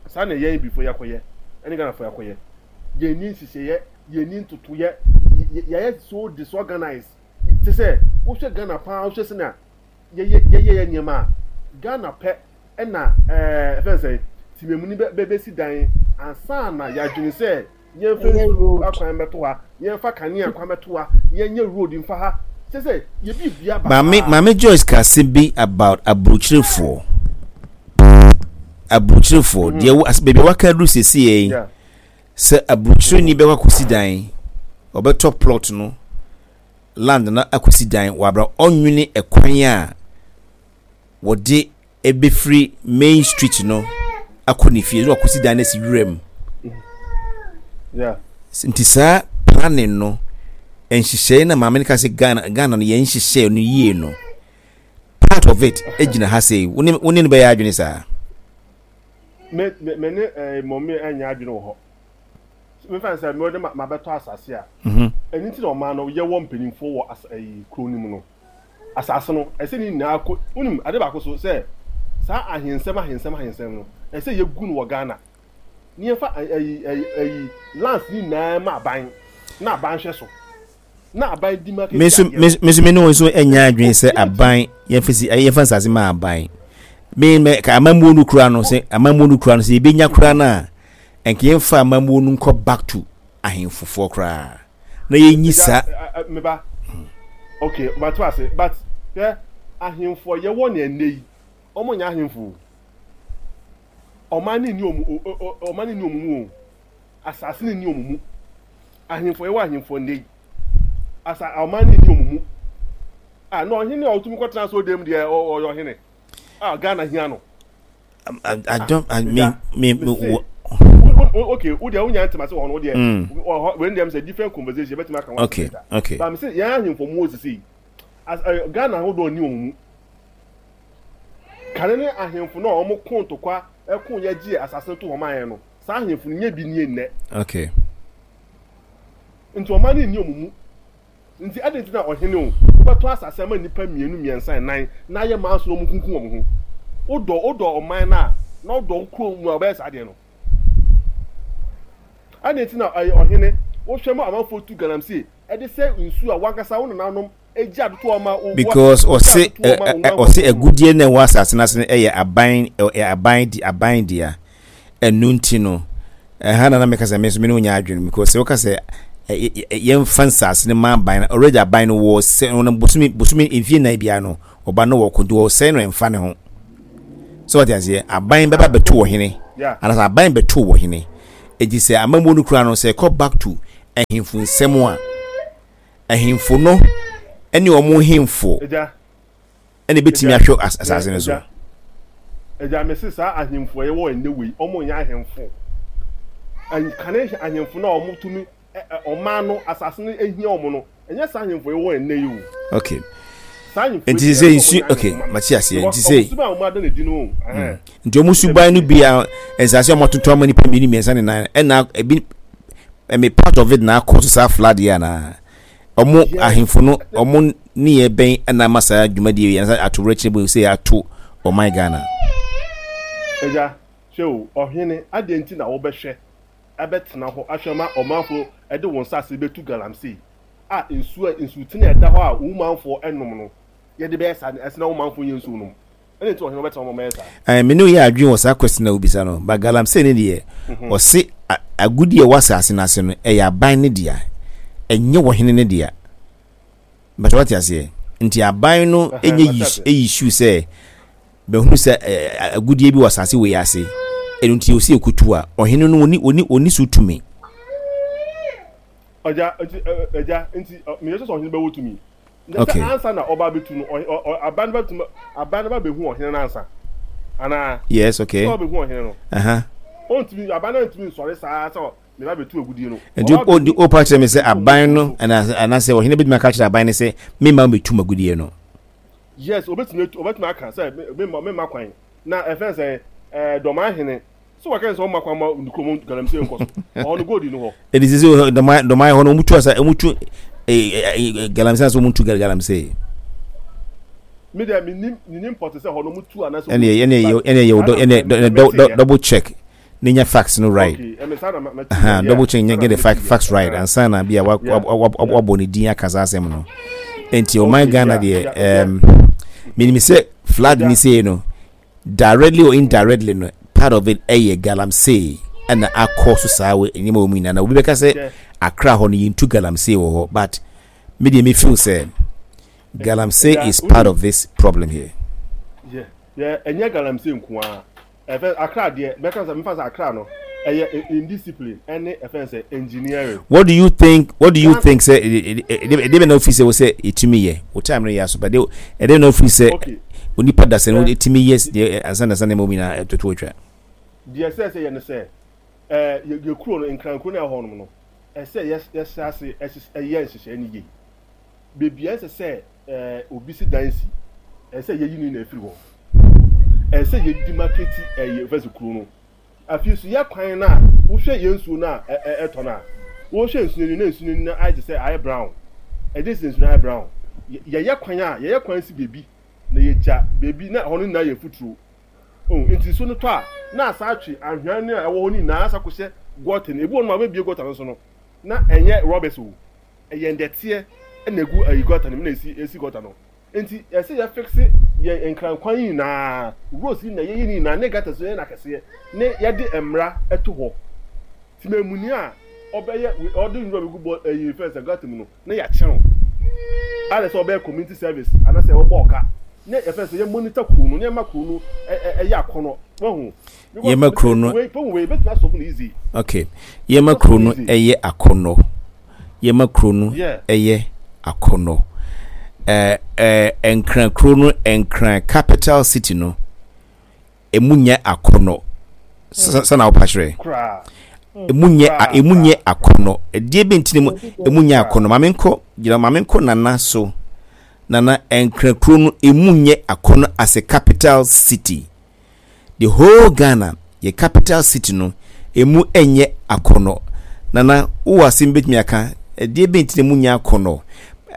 Saa na yɛn bifo yɛakɔyɛ, ɛne Ghanafoɔ yɛakɔyɛ. Yɛn ni nhyehyɛeɛ, yɛn ni ntotoyɛ, yɛayɛ so disorganized. Te sɛ wohwɛ Ghana paa, wohwɛ sɛnea yɛyɛ yɛyɛ yɛ nneɛma a, Ghana pɛ ɛna ɛɛ ɛfɛn sɛ tìmɛmuni bɛ bɛsi dan ansa na yɛadwene sɛ yɛmfa Ɛyɛ nsuo road. akwan bɛto ha, yɛmfa kanea kwan bɛto ha, yɛnyɛ road mfa ha. Kyɛ sɛ yɛbi bia Maame basaa. Maame Joyce ka asɛm bi about aburokyerefoɔ. Aburokyerefoɔ deɛ wo as baabi a waka aduru seesei yi, Yeah. sɛ aburokyereni bɛkɔ akɔsi dan, ɔbɛtɔ plot no, land no akɔsi dan wɔ abra ɔnwene ɛkwan a wɔde ɛbɛfiri main street no akɔ ne fie na wakɔsi dan no asi wura mu. Yeah. Nti saa planning no, nhyehyɛe na maame no ka sɛ Ghana Ghana no yɛn nhyehyɛe no yie no, part of it gyina ha sei. Wo ne wo ne no bɛyɛ adwene saa? Me me me ne ɛɛ mɔmi ɛnyɛ adwene wɔ hɔ. Me fa sɛ me de ma ma bɛtɔ asase a. Mhm. Ɛno nti na ɔman no yɛwɔ mpanyinfoɔ wɔ asa ɛyi kuro no mu no. Asase no ɛsɛ ne nyinaa kɔ, wonim ade baako so sɛ saa ahensɛm ahensɛm ahensɛm no ɛsɛ yɛgu no wɔ Ghana. Ne yɛmfa ɛyi ɛyi ɛyi lands ne nyinaa ma aban na aban hwɛ so. Na aban di ma Me nso kɛse adeɛ me no. me nso me ne wo nso nyɛ adwene sɛ Obiara ntumi. aban yɛmfa si yɛmfa nsase ma aban. Me me ka amammuo no kura no sɛ amammuo no kura no sɛ yɛbɛnya kura no a, ɛnka yɛmfa amammuo no nkɔ back to ahemfofoɔ koraa na yɛnyi Ɛgya saa. meba. Okay, mate ase, but hwɛ, ahemfo a yɛwɔ ne ɛnnɛ yi, wɔn nyɛ ahemfo o. Ɔman no nni wɔn o, ɔman no nni wɔn mu o. Asase no nni wɔn mu. Ahemfo yɛwɔ ahemfo nnɛ yi. Asa ɔman no nni wɔn mu. Ah, na ɔhene a ɔtumi kɔtena so dɛm deɛ ɔyɛ ɔhene. Ah, Ghana hia no. I, I don't I me me me wo okay, wo deɛ wonya ntoma sɛ wɔ hɔ no wo deɛ wei deɛ sɛ different conversation bɛtumi aka ho okay okay but me sɛ yɛn ahemfo mu wɔ sisi yi as Ghana ahodoɔ nni wɔn mu. Kane ne ahemfo no a wɔn ko ntokwa ɛko yɛ gye asase no to wɔn ayɛ no, saa ahemfo no nyɛ bi nie nnɛ. Okay. Nti ɔman no nni wɔn mu. Nti adɛn nti na ɔhene o, wobɛtɔ asase ama nnipa mmienu, mmiɛnsa, nnan na ayɛ manso na wɔn kunkum wɔn ho? Wodɔ wodɔ ɔman no a, na wodɔ wo kurom mu a, wobɛyɛ saa adeɛ no. Adɛn nti na ɛyɛ ɔhene, wohwɛ ma amanfoɔ tu galamsey ɛde sɛ nsuo a wankasa wo nananom egya adoto ɔma wo because ɔse ɔse agudie na ɛwɔ asase no ase no ɛyɛ aban ɛyɛ aban di aban dea. Ɛno nti no, ɛha na na meka sɛ me nso me ne wo nyɛ adwene, because sɛ woka sɛ yɛmfa nsase no ma aban no, already aban no wɔ sɛ no bosome bosome mfie nnan biara no ɔba no wɔ ko nti wɔsɛe no ɛmfa ne ho. So wate aseɛ, aban bɛba bɛto wɔ hene anaasɛ aban bɛto wɔ hene. Eti sɛ amammuo no kura no, sɛ ɛkɔ back to ahemfo nsɛm a, ahemfo no ne wɔn hemfo ɛna ebɛtumi ahwɛ asase no so. Agya, mese saa ahemfo a yɛwɔ ɛnnɛ wei, wɔn nyɛ ahemfo. Kane ahemfo no a wɔtumi ɔman no, asase no ehia wɔn no, ɛnyɛ saa ahemfo yɛwɔ ɛnnɛ yi o. Okay. Nti sɛ nsu, okay, mate aseɛ. Nti sɛ nti wɔn suban no bi a nsase a wɔatoto ama nipa mmienu mmiɛnsa ne nan, ɛna ebi ɛmi part of it na akɔ so saa flood yi anaa? Wɔn ahemfo no wɔn nneyɛɛ bɛn na ama saa dwumadie yi anaasɛ atowerɛkyerɛ bu sɛ ato ɔman Ghana? Agya, hwɛ o, ɔhene, adɛn nti na wobɛhwɛ abɛtena hɔ ahwɛ ma ɔmanfoɔ de wɔn nsase bɛtu galamsey a nsuo a nsutene a ɛda hɔ a wo manfoɔ nom no, yɛde bɛyɛ saa, ɛsɛ na wo manfoɔ nyɛ nsuo nom? Ɛna nti ɔhene ɔbɛtena hɔ ma ɔmɛyɛ saa. Ɛɛ, me ne wo yɛ adwene wɔ saa question a wobisa no, but galamsey ne deɛ, mhm. ɔse agudi a ɛwɔ asase no ase no, ɛyɛ aban ne dea, ɛnyɛ ɔhene ne dea. But wate aseɛ, nti aban no nyɛ issue sɛ bɛhunu sɛ agudie bi wɔ asase wei ase, ɛno nti ɔsi ɛkutu a, ɔhene no ɔni ɔni ɔni so tumi. Ɔgya, nti, ɛgya, nti, meyɛ sɛ ɔhene bɛwɔ tumi. Na sɛ ansa na ɔba abɛtu no, aban no bɛtumi, aban no ba bɛhu ɔhene no ansa. Anaa? Yes, okay. Sɛ ɔbɛhu ɔhene no. Uh-huh. Ɔntumi, aban no ntumi nsɔre saa sɛ meba bɛtu agudie no. Nti o pa kyerɛ me sɛ aban no anaasɛ ɔhene bɛtumi aka kyerɛ aban no sɛ memma mɛtu m'agudie no. Yes, ɔbɛtumi ɔbɛtumi aka sɛ memma memma kwan. Na ɛfɛn sɛ ɛɛ dɔmahene So waka sɛ ɔmma kwan ma ne kurom galamsey nkɔ so? Ɔhɔ no gold ni hɔ. Ɛdi sɛ sɛ dɔman dɔman hɔ no wɔn tu asa wɔn tu galamsey ase wɔn tu galamsey. Mi dɛ mi nim mi nim pɔte sɛ hɔ no wɔn tu anaasɛ. Ɛnna ɛnna yɛ ɛnna yɛ ɛnna double check ne nya facts no right. Okay, ɛmɛ saa na ma ti. Double check nya get the fact facts right ansa na bi a wa wa wa wabɔ ne din aka saa asɛm no. Nti ɔman Ghana deɛ ɛɛm minim sɛ flood ni sei no. Directly or indirectly no, part of it ɛyɛ galamsey ɛna akɔ so saa wɔ nneɛma wɔ mu nyinaa. Na obi bɛka sɛ Accra hɔ no yɛntu galamsey wɔ hɔ, but me deɛ me feel sɛ galamsey is part of this problem here. Yeah, yeah, ɛnyɛ galamsey nko ara. Ɛfɛ Accra deɛ, mɛka sɛ mefa sɛ Accra no ɛyɛ indiscipline ɛne ɛfɛn sɛ engineering. What do you think? What do you think sɛ ɛde bɛ na ofiri sɛ wɔ sɛ etumi yɛ o time no yɛ aso but ɛde bɛ na ofiri sɛ onipa da sɛ no etumi yɛ deɛ ansa na sanni mu nyinaa ɛtoto atwa. Deɛ ɛsɛ sɛ yɛ no sɛ ɛɛ yɛ yɛ kuro no nkrankuro no ɛwɔ hɔ nom no ɛsɛ yɛ yɛhyɛ ase ɛyɛ nhyehyɛe no yie. Beebi a ɛsɛ sɛ ɛɛ obi si dan si ɛsɛ yɛyi ne nyinaa firi hɔ. Ɛsɛ yɛ demarcate ɛyɛ fɛs kuro no. Afei nso yɛ kwan no a wohwɛ yɛn nsuo no a ɛtɔ no a, wohwɛ nsuo no na nsuo no ayɛ te sɛ ayɛ brown. Ɛde sɛ nsuo no ayɛ brown. Yɛyɛ kwan a yɛyɛ kwan si beebi na yɛgya beebi na ɛhɔ no nyinaa yɛ mfuturo. Oh, nti nsuo no tɔ a na asa atwe anhwea no a ɛwɔ hɔ no nyinaa asa kɔhyɛ gɔta no. Ebi wɔ no ma wɔbɛbie gɔta no so no na ɛnyɛ rɔbɛs o, ɛyɛ ndɛteɛ na egu ayi gɔta no mu na esi esi gɔta no. Nti ɛsɛ yɛ fixe yɛn nkrankwan yi nyinaa, roads yi nyinaa, yɛyɛ ne nyinaa, ne gutters yɛyɛ no akɛseɛ, ne yɛde mmara to hɔ. Temamuni a ɔbɛyɛ ɔde nwura bɛgu bɔ ɛyi fɛn sɛ gutter mu no, na yɛakye no. Ayɛ sɛ ɔbɛyɛ community service anaasɛ ɔbɔ ɔka. Ne yɛfɛn sɛ yɛ monitor kuro no, ne yɛma kuro no ɛyɛ akɔnɔ. Wahu? Yɛma kuro no. Wei problem wei ebetumi asɔfo no easy. Okay. Yɛma kuro no ɛyɛ akɔnɔ. Yɛma kuro no ɛyɛ akɔnɔ. Ɛɛ ɛɛ Nkran kuro no, Nkran capital city no, emu nyɛ akɔnɔ. Sɛ na wopa kyerɛ. Emu nyɛ emu nyɛ akɔnɔ. Ɛdeɛ bi nti mu emu nyɛ akɔnɔ. Maame nkɔ gyina maame nkɔ nana so. Nana, Nkran kuro no emu nyɛ akɔnɔ as a capital city. The whole Ghana yɛ capital city no emu nyɛ akɔnɔ. Nana wowɔ asɛm bɛtumi aka ɛdeɛ bɛn nti na emu nyɛ akɔnɔ?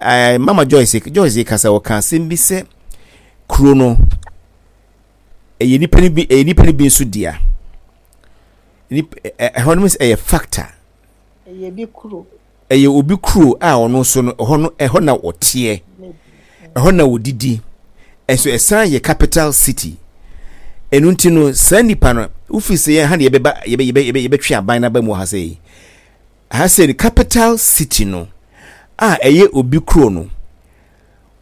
Ɛɛ Mama Joyce Joyce kasa ɔka asɛm bi sɛ kuro no ɛyɛ nipa no bi ɛyɛ nipa no bi nso dea. Nipa ɛhɔ no ɛyɛ factor. Ɛyɛ bi kuro. Ɛyɛ obi kuro a ɔno nso no ɛhɔ no ɛhɔ na ɔteɛ, ɛhɔ na ɔdidi, ɛnso ɛsan yɛ capital city. Ɛno nti no saa nipa no wofi sɛ yɛn ha na yɛbɛba yɛbɛ yɛbɛ yɛbɛ yɛbɛtwe aban n'aba mu wɔ ha sɛ yi. Ha sɛ no capital city no a ɛyɛ obi kuro no,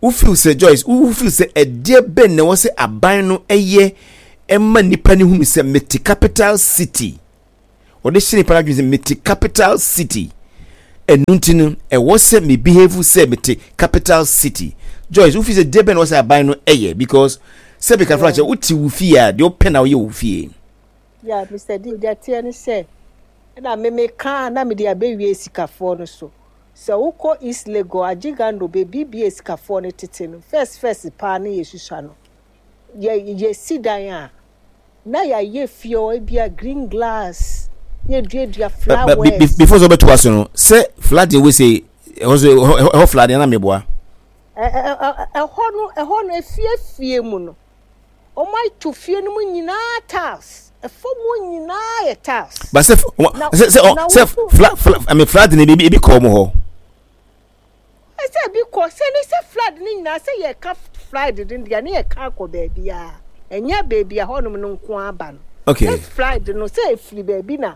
wo feel sɛ Joyce wo feel sɛ ɛdeɛ bɛn na ɛwɔ sɛ aban no ɛyɛ ɛma nipa ne hunu sɛ mete capital city. Ɔde hyɛ nipa no adwene sɛ mete capital city, ɛnu nti no ɛwɔ sɛ me behave sɛ mete capital city. Joyce, wofi sɛ deɛ bɛn na wɔ sɛ aban no ɛyɛ? Because sɛ bɛka fra kyɛ, wote wo fie a, deɛ wopɛ na woyɛ wo fie. Yeah, Mister D, deɛ teɛ ne sɛ, ɛna meme kaa na mede abɛwie sikafoɔ no so. Sɛ wokɔ East Legon, Agyigando, baabi bie sikafoɔ no tete no, first first paa ne yɛsusua no, yɛ yɛsi dan a, na yɛayɛ fie hɔ ebia green glass, na yɛduadua flowers. Before sɛ wobɛto ase no, sɛ flooding wei sɛ ɛhɔ so, ɛhɔ ɛhɔ flooding na meboa. Ɛhɔ no ɛhɔ no efiefie mu no, wɔn ato fie no mu nyinaa tiles, ɛfam hɔ nyinaa yɛ tiles. But sɛ sɛ sɛ sɛ fla fla I mean, flooding ebi ebi kɔ wɔn hɔ. Ɛsɛ ebi kɔ sɛ ne sɛ flood ne nyinaa, sɛ yɛka flood no deɛ, ne yɛka akɔ baabi a ɛnyɛ baabi a hɔnom no nko aba no. Okay. Sɛ flood no sɛ efiri baabi na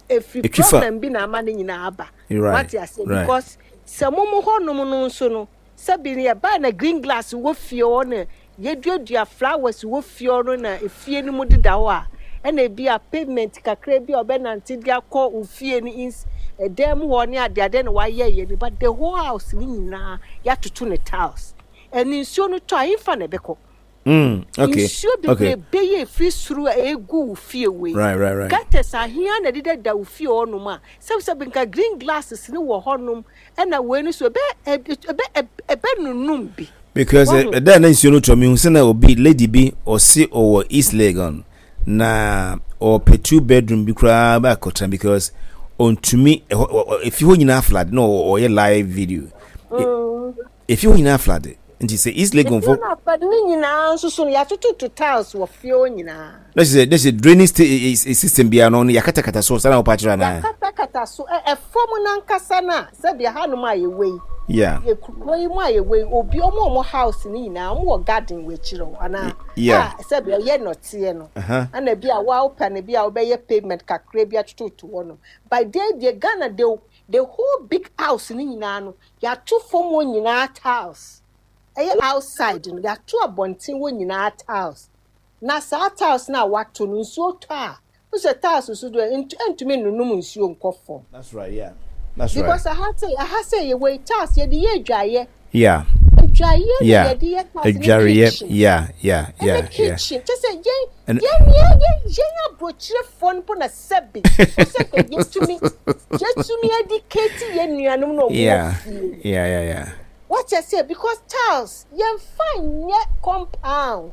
efiri problem bi na ama ne nyinaa aba. Right. Wate ase? Because sɛ mo mo hɔnom no nso no, sɛbi ne yɛbaa na green glass wɔ fie hɔ na yɛduadua flowers wɔ fie hɔ no na efie no mu deda hɔ a, ɛna ebi a pavement kakra bi a ɔbɛnante de akɔ ofie no ins ɛdan mu hɔ ne adeade na wayɛ yɛ no, but the whole house ne nyinaa yɛatoto ne tiles. Ɛne nsuo no tɔ a, ɛmfa na ɛbɛkɔ? Mm, okay. Nsuo bebree bɛyɛ efiri soro a egu wo fie wei. Right, right, right. Gutters ahia na ɛdeda wo fie hɔnom a, sɛbisɛbi nka green glasses ne wɔ hɔnom, ɛna wei no so ɛbɛ ɛbɛ ɛbɛ nunum bi. Because ɛda na nsuo no tɔ, mi hu sɛ na obi, lady bi, ɔsi ɔwɔ East Legon na ɔpɛ two bedroom bi koraa bɛ akɔtena because ɔntumi ɛhɔ, efi hɔ nyinaa flood, na ɔyɛ live video. Efi hɔ nyinaa flood, nti sɛ East Legon fo. Efi hɔ na flood ne nyinaa nso so no, yɛatototo tiles wɔ fie hɔ nyinaa. Na kyerɛ sɛ drainage system biara no yɛakatakata so saa na wɔpa kyerɛ anaa? Yɛakatakata so. Ɛfam nankasa no a, sɛdeɛ hanom a yɛwɔ yi. Yeah. Yɛ kuro yi mu a yɛwɔ yi, obi ɔmo a ɔmo house ne nyinaa, ɔmo wɔ garden wɔ akyire hɔ anaa? Yeah. A sɛdeɛ ɔyɛ nɔteɛ no. Ɛna bi a wɔapɛ no bi a wɔbɛyɛ pavement kakra bi atototo hɔ no. By day deɛ, Ghana de the whole big house ne nyinaa no, yɛato fam hɔ nyinaa tiles. Ɛyɛ outside no, yɛato abɔnten hɔ nyinaa tiles. Na saa tiles na wato no, nsuo tɔ a, wosɛ tiles so do ntumi nunum nsuo nkɔ fam. That's right, yeah. That's because right. Because aha sɛ aha sɛ yɛwɔ yi, tiles yɛde yɛ adwaeɛ. Yeah. Adwaeɛ na Yeah. yɛde yɛ tiles ne Adwareɛ. kitchen. Yeah, yeah, yeah, ɛne yeah. kitchen kyɛ sɛ yɛn And- yɛn yɛn yɛn yɛn aburokyerefoɔ no po na sɛbi ɔsɛ kɛ yɛtumi yɛtumi educate yɛn nuanom na ɔmo wɔ Yeah. fie. Yeah, yeah, yeah. Wɔkyɛ sɛ because tiles yɛnfa nyɛ compound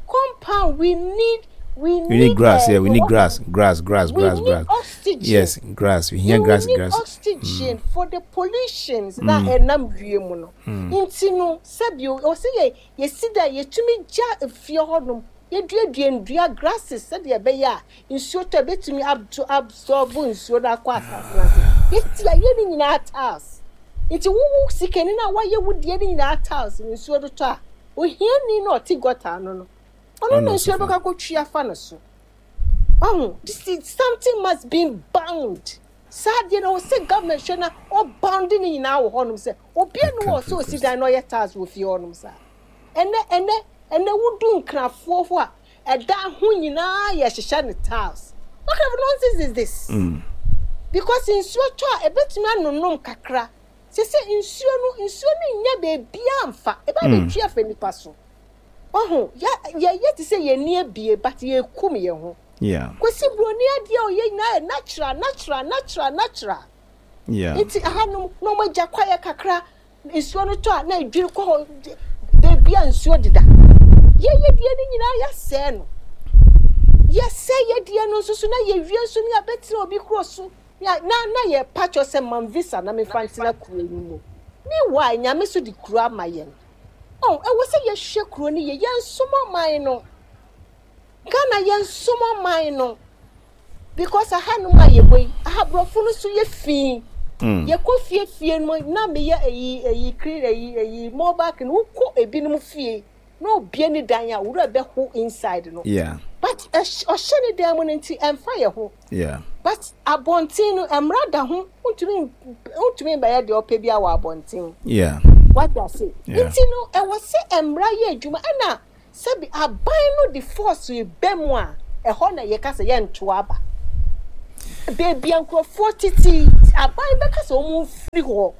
compound we need we need, We need grass, uh, yeah, we need what- grass, grass, grass, we grass, need grass. oxygen. Yes, grass. We hear We grass, need grass. oxygen for the pollutions na ɛnam wiem no. Nti no, sɛbi ɔsɛ yɛ yɛsi da yɛtumi gya efie hɔnom, yɛduadua ndua, grasses, sɛdeɛ ɛbɛyɛ a nsuo tɔ, ebɛtumi abso absorb nsuo no akɔ asase no ase. Yɛsi ayɛ ne nyinaa tiles, nti wowu sikani no a wayɛ wo deɛ ne nyinaa tiles no, nsuo no tɔ a, ohiani na ɔte gutter ano no, ɔno Ɔno na nso nsuo fa. bɛkɔ akɔtwi afa no so. Ɔho this is something must be bound. Saa deɛ no, ɔsɛ government hwɛ na ɔbound ne nyinaa wɔ hɔnom sɛ obiara ne wɔ sɛ osi dan na ɔyɛ tiles wɔ fie hɔnom saa. Ɛnɛ ɛnɛ ɛnɛ wodu nkrafoɔ hɔ a, ɛdan ho nyinaa yɛ hyehyɛ ne tiles. What kind of nonsense is this? Mm. Because nsuo tɔ a, ebetumi anonom kakra sese nsuo no nsuo no nya beebia nfa eba abɛtwi afa nipa so. Ɔho yɛ yɛyɛ te sɛ yɛn ni ebie, but yɛkum yɛn ho. Yeah. Kwesi Buroni adeɛ a ɔyɛ nyinaa yɛ natural, natural, natural, natural. Yeah. Nti ahanom na wɔn agya kwaeɛ kakra, nsuo no tɔ a, na edwiri kɔ hɔ beebi a nsuo deda. Yɛyɛ deɛ no nyinaa, yɛasɛɛ no, yɛsɛ yɛ deɛ no nso so na yɛwie nso ne yɛabɛtena obi kuro so na na na yɛ patwɔ sɛ mam visa na mefa ntena kuro yi mu. Meanwhile, Nyame so de kuro ama yɛn. Ɔn ɛwɔ sɛ yɛhwɛ kuro no yɛ, yɛnsom ɔman no. Ghana, yɛnsom ɔman no, because ahanom a yɛwɔ yi, ahaborɔfo no so yɛ fii. Mm. Yɛkɔ fie fie no na meyɛ eyi eyi kiri eyi eyi mobile clean, wokɔ ebinom fie na obie ne dan a, wura bɛho inside no. Yeah. But ɛhy- ɔhyɛ ne dan mu no nti ɛmfa yɛ ho. Yeah. But abɔnten no, mmara da ho, ntumi ntumi bɛyɛ deɛ ɔpɛ bi wɔ abɔnten. Yeah. Wate ase? Yeah. Nti no, ɛwɔ sɛ mmara yɛ adwuma, ɛna Sɛbi aban no de force ba mu a, ɛhɔ na yɛka sɛ yɛnto aba. Baabi a nkurɔfoɔ tete, aban bɛka sɛ wɔn mfiri hɔ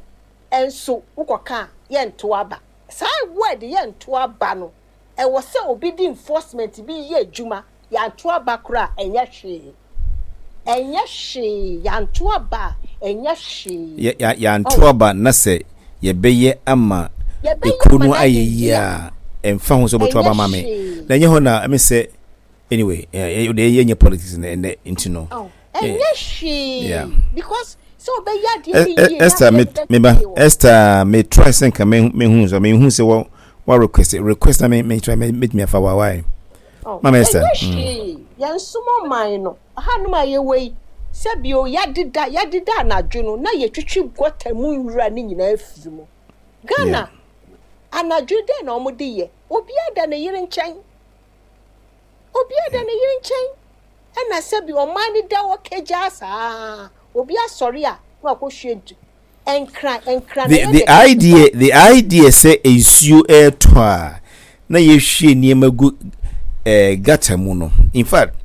nso wokɔka a yɛnto aba. Saa word yɛnto aba no, ɛwɔ sɛ obi de enforcement bi yɛ adwuma. Yɛanto aba koraa a, ɛnyɛ hwee. Ɛnyɛ hwee. Yɛanto aba a, ɛnyɛ hwee. Yɛ yɛ yɛanto aba na sɛ yɛbɛyɛ ama Yɛbɛyɛ ekuro ama no no ayɛ ayɛ yie yie a, a, ɛmfa ho sɛ wobɛto ɛnyɛ aba ma me. hwee. Na ɛnyɛ hɔ na ɛmi sɛ anyway, ɛ ɛ yɛnyɛ politics na ɛnɛ nti no. Oh, Eh, ɛnyɛ yeah. hwee because sɛ wobɛyɛ adeɛ E- bi E- yie na Esther, adeɛ me no me ba bɛsɛe wɔ. Esther, me try sɛ nka me me hu so me hu sɛ wɔ wa request request na me me try me metumi afa wa why. Oh, Mama Esther. ɛnyɛ Mm. hwee. Yɛnsom ɔman no. Hanom a yɛwɔ yi, sɛbio yɛadeda yɛadeda anadwo no na yɛtwitwi gutter mu nwura ne nyinaa afiri mu. Yeah. Ghana, anadwo dɛn na wɔde yɛ? Obiara da ne yere nkyɛn. Obiara da ne yere nkyɛn. Ɛna sɛbi ɔman no da hɔ kagyaa saa. Obi asɔre a na wakɔhwie ntu. Nkran nkran na The ɛyɛ the dɛ kɛse idea the idea sɛ nsuo ɛɛtɔ a na yɛhwie nneɛma gu ɛɛ gutter mu no. In fact,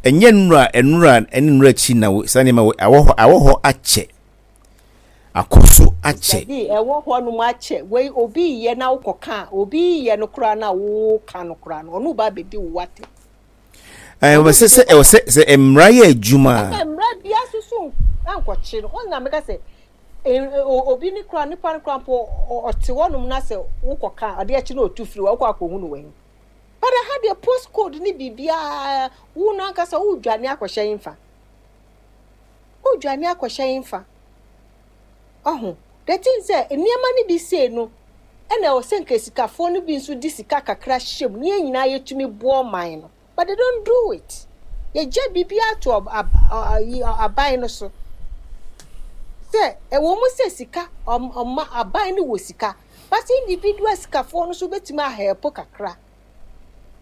ɛnyɛ nnura nnura ɛne nnura akyi na wo- saa nneɛma wɔ awɔ hɔ awɔ hɔ akyɛ akɔ so akyɛ. Dabi, ɛwɔ hɔ nom akyɛ. Wei obi yɛ na wokɔka a, obi yɛ no koraa na woka no koraa no, ɔno ba abɛdi wo atɛm. Ɛɛ Ɔno wɔ sɛ sɛ bɛdi ɛwɔ sɛ sɛ mmara yɛ adwuma ɛna a mmara bia so so ankɔkye no. Ɔno na meka sɛ eh, o- obi ne koraa nipa no koraa mpo ɔ- ɔte hɔnom na sɛ wokɔka a, adeɛ akyi na ɔtu firi hɔ, wokɔ akɔhu no wɔ But ha deɛ post code ne biribiara, wo no ankasa wodwane akɔhyɛ mfa. Wodwane akɔhyɛ mfa. Ɔho. The thing sɛ nneɛma no bi sei no, ɛna ɛwɔ sɛ nka sikafoɔ no bi nso de sika kakra hyɛ mu na yɛn nyinaa yɛtumi boɔ ɔman no. But they don't do it. Yɛgya biribiara to ɔb- ab- ɔ- ayi- ɔ- aban no so. Sɛ ɛwɔ mu sɛ sika ɔm ɔma aban no wɔ sika, but individual sikafoɔ no nso bɛtumi ahelp kakra.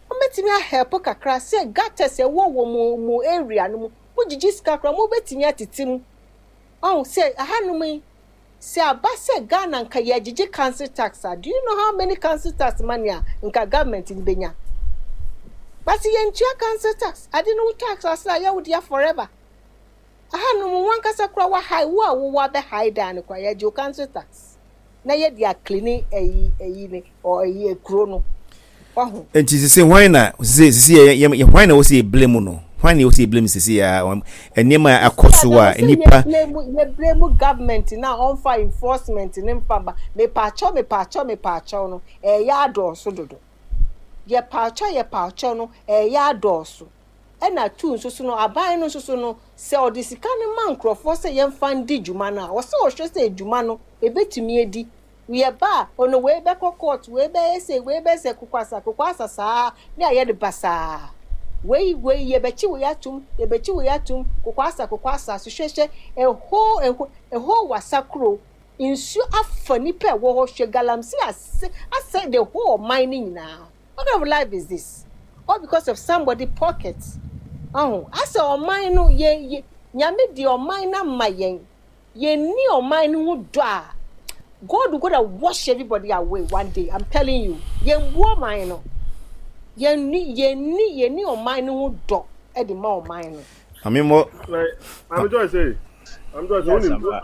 Wɔbɛtumi ahelp kakra sɛ gutters ɛwɔ wɔ mo mo area no mu, mogyegye sika koraa mobɛtumi atete mu. Ɔho sɛ ahanom yi, sɛ aba sɛ Ghana nka yɛgyegye council tax a, do you know how many council tax money a nka government no bɛnya? But yɛntua council tax. Ade no wo tax ase a yɛwo dea forever. Ahanom wankasa koraa wahae wo a wowɔ abɛhae dan no koraa yɛgye wo council tax. Na yɛde aclean ɛyi ɛyi ne ɔ ɛyi ekuro no. Ɔho. Nti sisi hwan na sisi sisi yɛ yɛ yɛ hwan na wɔsi yɛ blame no hwan na wɔsi yɛ blame sisi a wɔn nneɛma a akɔ so a Sɛ nipa yɛ blame yɛ blame government na ɔmfa enforcement ne mfa ba mepaakyɛw mepaakyɛw mepaakyɛw no ɛyɛ adɔɔso dodo. Yɛpaakyɛw yɛpaakyɛw no ɛyɛ adɔɔso. Ɛna two nso so no aban no nso so no sɛ ɔde sika no ma nkurɔfoɔ sɛ yɛmfa ndi dwuma no a wɔsɛ ɔhwɛ sɛ dwuma no ebetumi adi. Yɛba a ɔno wei bɛkɔ court wei bɛyɛ sɛ wei bɛyɛ sɛ kokwasa kokwasa saa ne ayɛ de basaa. Wei wei yɛbɛkyi wei atum yɛbɛkyi wei atum kokwasa kokwasa so hwɛhwɛ ɛhɔ ɛhɔ ɛhɔ wasa kuro nsuo afa nipa a ɛwɔ hɔ hwɛ galamsey ase asɛ the whole ɔman ne nyinaa. What kind of life is this? All because of somebody pocket. Ɔho asɛ ɔman no yɛ yɛ nyame di ɔman no ama yɛn yɛnni ɔman no ho dɔ a God will gonna wash everybody away one day. I'm telling you. Yɛn bu ɔman no. Yɛnni yɛnni yɛnni ɔman no ho dɔ ɛde ma ɔman no. Maame mo Like, I'm just saying, I'm just Yes, saying, ampa.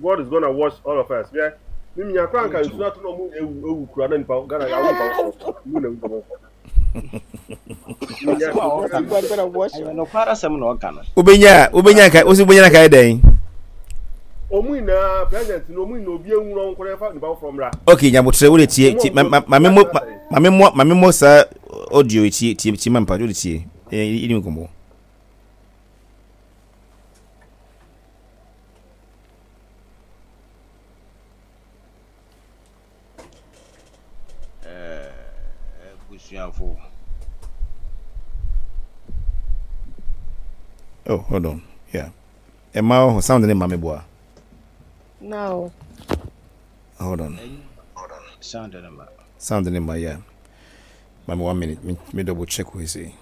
God is gonna wash all of us. Yeah. Mimi nya kora nka nsuo ato na ɔmo ewu ewu kura na nipa Ghana ya nipa mu na ewu Minya Asɛm a ɔka no God gonna wash ɛyɛ us. nokware asɛm na ɔka no. wobɛnya wobɛnya nka wosi wobɛnya nka yɛ dɛn ɔmo nyinaa president no ɔmo nyinaa obi ewu na ɔmo kora fa nipa foforɔ mmra. okay nyabotrɛ wode tie Ɔmo tie a ma ɔmo ma maame mo ma- maame mo maame mo saa audio yi tie tie tie ma mpa wode tie ɛyɛ ɛdi nkɔmmɔ Ɛɛ, abusuafo. oh hold on yeah ɛma wɔ hɔ sound ne ma me boa No. hold on Sound no ma. sound ne ma yeah ma me one minute me, me double check wɔ sei